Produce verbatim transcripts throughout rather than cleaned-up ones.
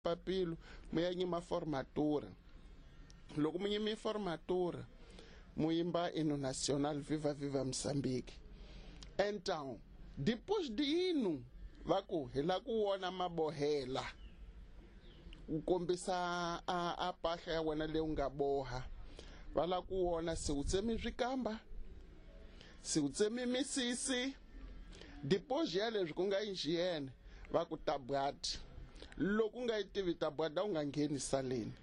papilo mu ya nyima formatura loko mu nyimi formatura mu yimba hino nacional viva viva Moçambique. Então depois de hino va ku hi la ku wona mabohela u kombisa a a pahla ya wena leyi u nga boha va la ku wona se u tsemi swikamba se u tsemi misisi depois ya leswi ku nga hygiene va ku tabwati loko u nga yi tivi tabwada u nga ngheni saleni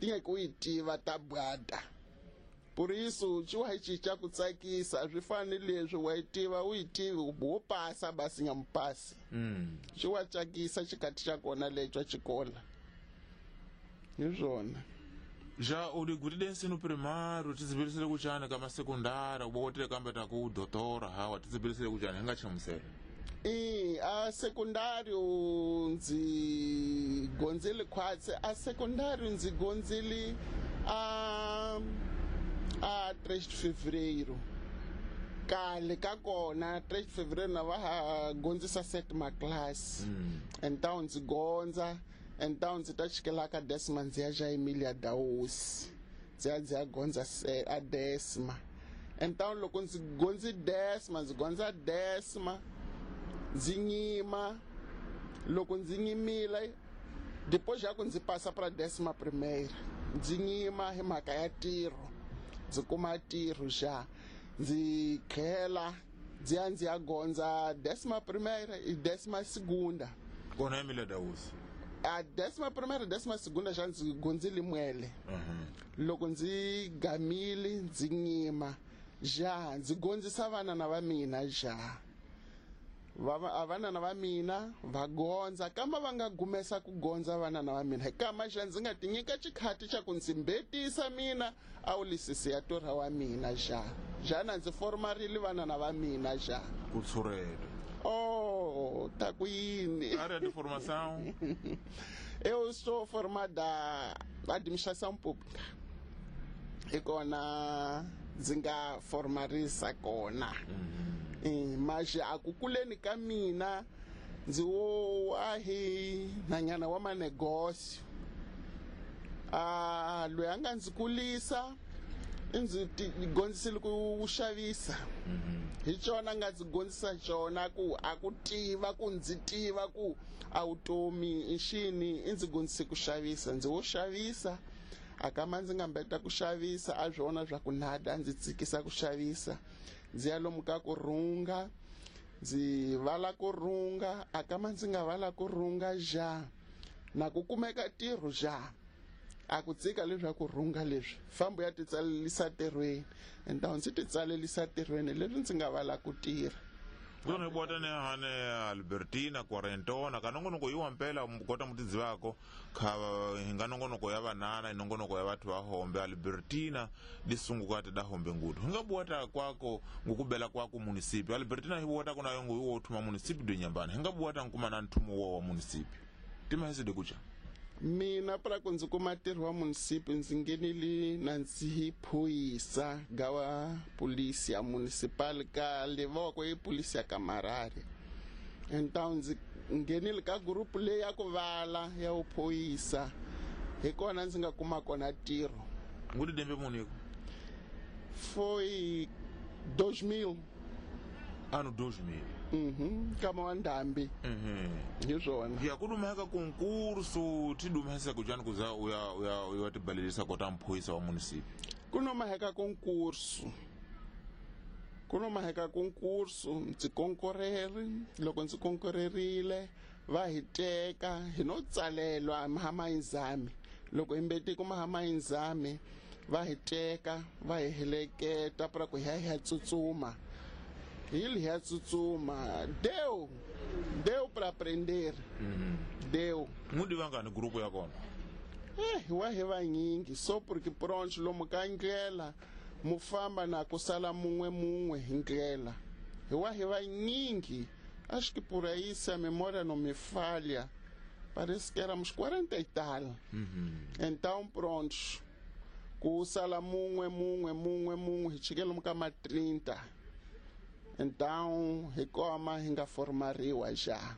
ti nga ku yi tiva tabwada. Por isso ci wa cinca ku tsakisa swi fani leswi wa yi tiva u yi tivi wo pasa basi nga mupasi xi wa tsakisa xikati xa kona lexo xikola hi swona. Já u digutile ensino primário tizibilisile kuchani kama sekundara ubokotile kambe ta ku doutora hawa tizibilisile kuchani hi nga chamusela. E a secundário ndzi gonzile khwatsi a secundário ndzi gonzile a a três de fevereiro kale ka kona três de fevereiro na va ha gonzisa sétima classe. mm. Então ndzi gondza então ndzi ta chikela ka décima ndzi ya ja Emília Daus ndzi ya ndzi ya gondza a décima. Então loko ndzi gondzi décima ndzi gondza décima ndzi nyima loko ndzi nyimile depois já ku ndzi passa pra décima primeira ndzi nyima hi mhaka ya ntirho ndzi kuma ntirho xa ndzi khela ndzi ya ndzi ya gondza décima primeira e décima segunda kona Emília Daus a décima primeira décima segunda xa ndzi gondzile mwele. Loko ndzi gamile ndzi nyima ja ndzi gondzisa vana na va mina ja va vana va mina va gondza kama va nga gumesa ku gondza vana na va mina hi kama xa ndzi nga ti nyika xikhati xa ku ndzi mbetisa mina a wu lisisi ya torha wa mina xa jana ndzi formarile vana na va mina xa ku tshurela. Oh, tá ku yini área de formação. Eu sou formada administração pública hi kona ndzi nga formarisa kona. Mm-hmm. Mas a ku kuleni ka mina ndzi wo wa hi nanyana wa manegócio a loyi a nga ndzi kulisa i ndzi gondzisile ku xavisa. Hi xona nga ndzi gondzisa xona ku a ku tiva ku ndzi tiva ku a vutomi i xini i ndzi gondzise ku xavisa ndzi wo xavisa a kama ndzi nga mbeta ku xavisa a swona swa ku nada ndzi tsikisa ku xavisa ndzi ya lomu ka ku rhunga ndzi vala ku rhunga a kama ndzi nga vala ku rhunga ja na ku kumeka ntirho ja a ku tsika leswaku rhunga leswi fambo ya titsalelisa ntirhweni então ndzi titsalelisa ntirhweni leswi ndzi nga vala ku tirha. Kona bota ne hane Albertina quarentona ka nongonoko yiwa mpela kota mutidzivako kha hinga nongonoko ya vanana nongonoko ya batho ba hombe Albertina disungukate da hombe ngudu hinga buwata kwako ngukubela kwako municipio Albertina hibuwata kona yongo yiwo thuma municipio de Nyambana hinga buwata nkuma na nthumo wa wa municipio tima hese de kucha. Mina para ku ndzi kuma ntirho wa municipio ndzi nghenile na ndzi phuyisa gawa polícia municipal ka levoko i polícia camarari. Então ndzi nghenile ka group leyi ya ku vala ya vuphuyisa hi kona ndzi nga kuma kona ntirho. Ngudi dembe muniko foi dois mil ano dois mil. Mhm kama wa ndambi. Mhm hi swona ya kudumeka concurso tidumesa kujani kuza uya uya uya tibalelisa kota mphoyisa wa municipio kunomaheka concurso kunomaheka concurso ndzi konkoreri loko ndzi konkorerile va hi teka hi no tsalelwa mahamayinzami loko hi mbeti ku mahamayinzami va hi teka va hi heleketa pra ku hi ya hi ya tsutsuma Ele ia tsutsuma deu deu para aprender. Mm-hmm. Deu mundi vangani grupo ya kona eh wa hi vanyingi so porque pronto lomu ka ndlela mufamba na kusala munwe munwe hi ndlela hi wa hi vanyingi acho que por aí se a memória não me falha parece que éramos quarenta e tal. Mm-hmm. Então pronto kusala munwe munwe munwe munwe hi chikela lomu ka ma trinta. Então hi koma hi nga formariwa ja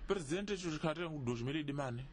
presidente xo xikhathi dois mil e mane